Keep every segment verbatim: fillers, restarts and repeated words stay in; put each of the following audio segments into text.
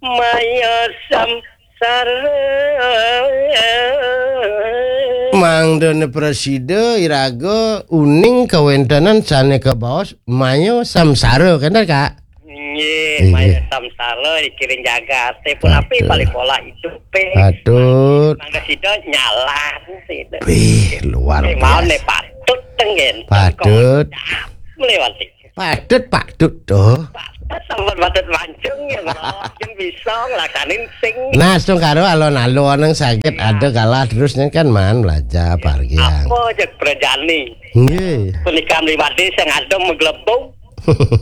Maya samsara. Mangdane prasida iraga uning kawéntenan sané kabaos maya samsara, kénten, Kak? Nggih, inggih. Maya samsara dikiring jagaté, punapi, patut, paling pola idupé. Patut. Mangda sida nyalah sida. Wih, luar biasa. Mawon patut tengen. Patut. Meliwati. Patut, patut, tuh. Patut, sampun patut mancung ya, Bro. Yen bisa nglaksanin sing. Nah, astungkara alon-alon nang saged ada kalah terus nih kan, man, belajar pargian. Apa cek prajani? Nggih. Punika mliwati sing adem meglebung.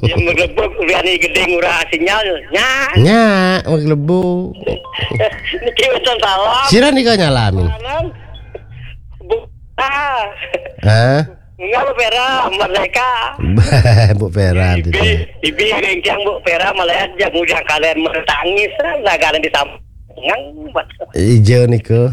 Yen meglebung, uliane gedhe ngurah sinyal. Nya. Nya, meglebung. Niki wonten salam. Sira nika nyalamin? Salam. Bu. Ah. Hah? Enggak, Bu Vera, Merdeka. Bu Vera, ibi, gitu. Ibi, rengkang Bu Vera, malah aja ngujang kalian mertangis, lah kalian disam-, ngang, buat. Ijo niku.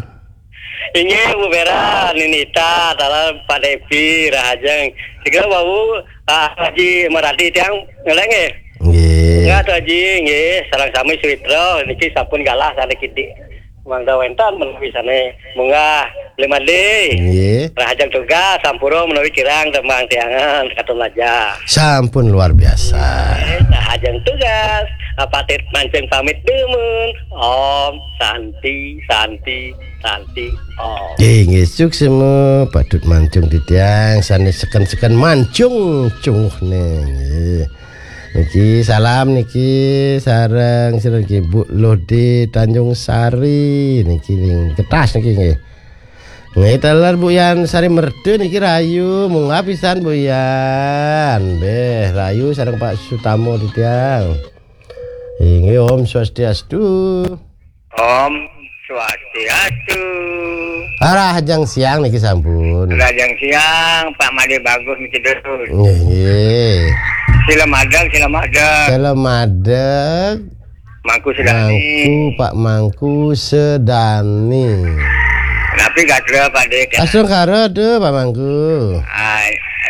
Inggih, Bu Vera, Ninita, Talan, Pak Devi, Rahajeng. Segera, Bawu, ah, Haji Maradi, tiang, ngeleng, eh? Nggih. Enggak, Tuh Haji, nggih, sareng sami Suwitra, niki sampun galah, sana kidik. Mangda wénten menawi sané munggah Limandé. Nggih. Rahajeng tugas sampura menawi kirang tembang tiangan katun laja. Sampun luar biasa. Rahajeng tugas, apatit mancing pamit dumun. Om Santi, Santi, Santi, Om. Nggih, nggih, suksema, patut mancung titiang, sané seken-seken mancung cunguhné. Nggih. Niki salam niki sareng, sareng niki Bu Lode Tanjung Sari niki ning Ketas niki nggih. Nggih, taler Bu Yan Sari Merdu niki rayu, munggah pisan Bu Yan. Nggih, rayu sareng Pak Sutamo titiang. Inggih, Om Swastiastu. Om Swastiastu. Rahajeng siang niki sampun. Rahajeng siang, Pak Made Bagus niki terus. Nggih, nggih. Sila madeg, sila madeg. Sila madeg. Mangku Sedani. Mangku, Pak Mangku Sedani. Napi gatra, Pak Dek? Astungkara tuh, Pak Mangku. Ah,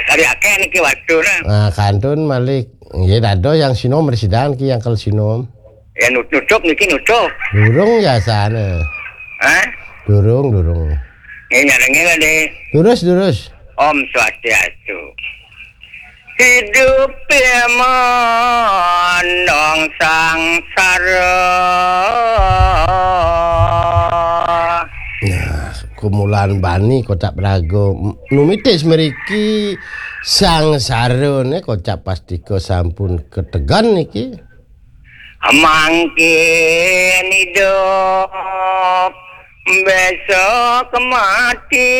kari akeh niki waktu nah. Nah, kantun malih. Nggih, dados yang sinom mresidan ki yang kel sinom. Ya, nut-, nutup niki nutup. Durung ya sana. Hah? Durung, durung. Ini nyarengnya kan deh. Durus, durus. Om Swastiastu. Hidup memandang sangsara. Nah, kumulan bani kocap raga. M-, numitis mriki sangsara ne kocap pastika sampun ketegan niki. Mangkin idup, besok mati.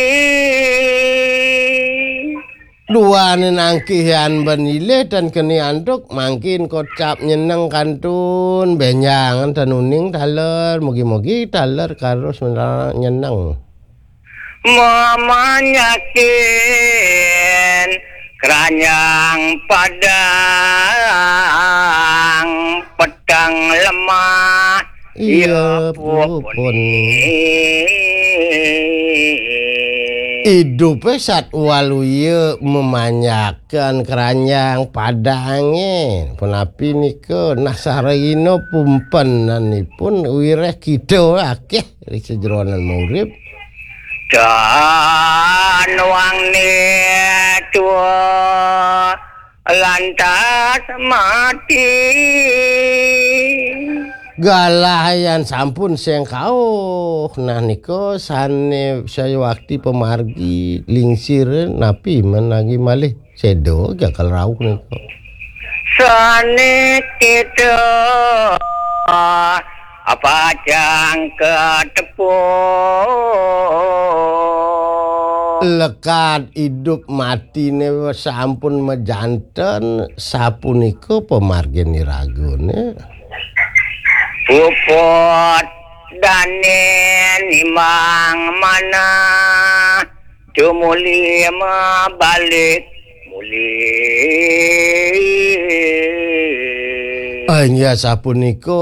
Duane nangkih yan ben ilih dan geni antuk, mangkin kocap nyeneng kantun, benjangan dan uning taler, mugi-mugi taler karus menra-, nyeneng. Memanyakin keranjang padang, pedang lemah, iya, iya, pupun. Pupun. Idupe sat waluya memanyakan keranjang padange. Punapi nika nah sarina pumpenanipun wireh kita akeh ri sejeroning urip. Dan wangné tua lantas mati. Galah yan sampun sengkauh. Nah nika sane sayuwakti pamargi lingsir napi menagi malih. Sedo gagal rauh nika. Sané kita pacang katepuk. Lekad idup matine sampun majanten, sapunika pamargin iragane. Puput dane nimbang manah. Tumuli mabalik muli. Ah, inggih sapunika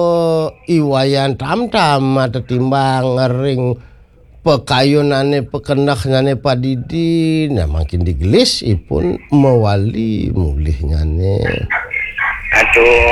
I Wayan Tamtam matetimbang ring pekayunane pekenehnane padidi, nah mangkin digelis ipun mawali mulihnyane. Aduh,